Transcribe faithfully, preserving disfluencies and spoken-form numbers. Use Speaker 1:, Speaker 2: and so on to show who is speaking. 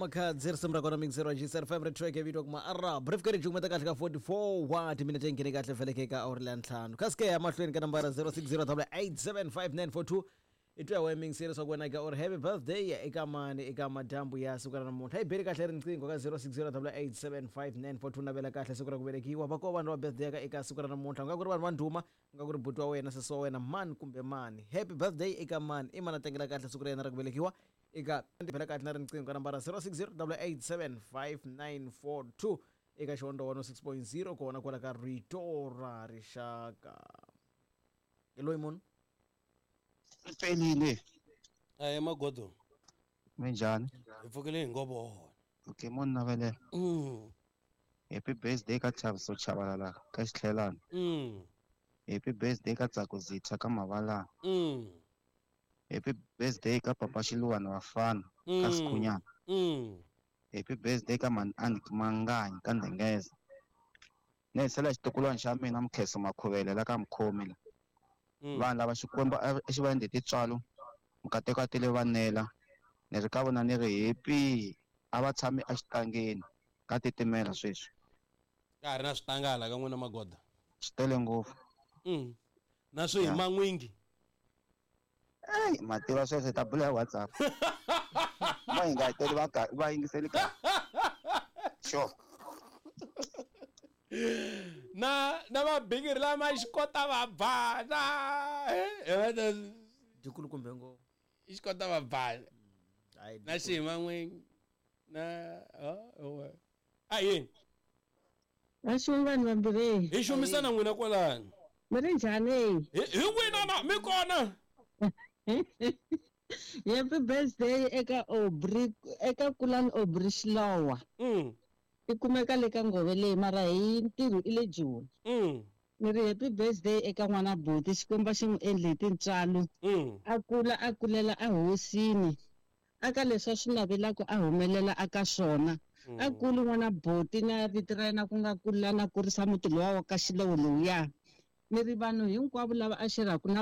Speaker 1: Makhadzi risimu ra kona mixero G S F M ri track vito kuma arab ri fika ri jumeta kahle ka forty-four wa timinete nghene kahle feleke ka awuri la ntlhanu kaske ya mahlweni ka nambara zero six zero eight seven five nine four two i twa wa mixero swa ku wena ka or happy birthday eka mani eka madyambu ya siku ra namuntlha hi beli kahle riqingho ka zero six zero eight seven five nine four two navela kahle siku ra ku velekiwa va ko vanhu va birthday ka eka siku ra namuntlha nga ku ri vanhu va ndhuma nga ku ri buti wa wena sesi wa wena mani kumbe mani happy birthday eka mani i mana tlangela kahle siku ra yena ra ku velekiwa eka bela kahle na riqingho ka nambara zero six zero eight seven five nine four two eka Xihondzo one oh six point zero kona kwala ka Rito ra Rixaka. Loyi munhu
Speaker 2: Pelile.
Speaker 3: Eh magodo.
Speaker 2: Minjhani?
Speaker 3: Hi pfukile hi ngobo.
Speaker 2: Okay, munhu navelela.
Speaker 3: Mm.
Speaker 2: Happy birthday ka Chaviso Chabalala ka Xitlhelana.
Speaker 3: Mm.
Speaker 2: Happy birthday ka Tsako Zitha ka Mavalana.
Speaker 3: Mm.
Speaker 2: Happy birthday ka Papa Xiluwana Vafana ka Sikhunyana.
Speaker 3: Mm.
Speaker 2: Happy birthday ka Man Anik Manganyi ka Ndengeza. Ne sela xitukulwana xa mina Mkheso Makhuvele la ka Mkhomi la. Vanhu lava Xikwembu xi va endle tintswalo mukateko a tele vanela ni ri ka vona ni ri happy a va tshami exitangeni ka titimela sweswi
Speaker 3: ka ha ri na switangala ka n'wina magoda
Speaker 2: swi tele ngopfu
Speaker 3: mm. na swi hi man'wingi
Speaker 2: ey mativa sweswo hi ta bula hi WhatsApp va hi nga hi teli va va yingiseli kahle sure
Speaker 3: na na mabigiri lama xikota va bana eh
Speaker 1: dikulu kumbe ngo
Speaker 3: xikota va bana na xima n'wingi na oh a yini
Speaker 4: va xumi vanhu vambirhi
Speaker 3: hi xumisana n'wina kwalani
Speaker 4: mi ri njhani
Speaker 3: hi n'wina na mi kona
Speaker 4: happy birthday eka Aubrey eka Kulani Aubrey Xilowa
Speaker 3: mm
Speaker 4: i kumeka le ka ngove leyi mara hi ntirho i le Joni
Speaker 3: mm
Speaker 4: ni ri happy birthday eka n'wana buti Xikwembu xi n'wi endle hi tintswalo a kula a kulela ehosini aka leswi a swi navelaka a humelela aka swona a kuli n'wana buti na vito ra yena ku nga kula na kurisa muti lowa wa ka Xilowo lowuya ni ri vanhu hinkwavo lava a xerhaka na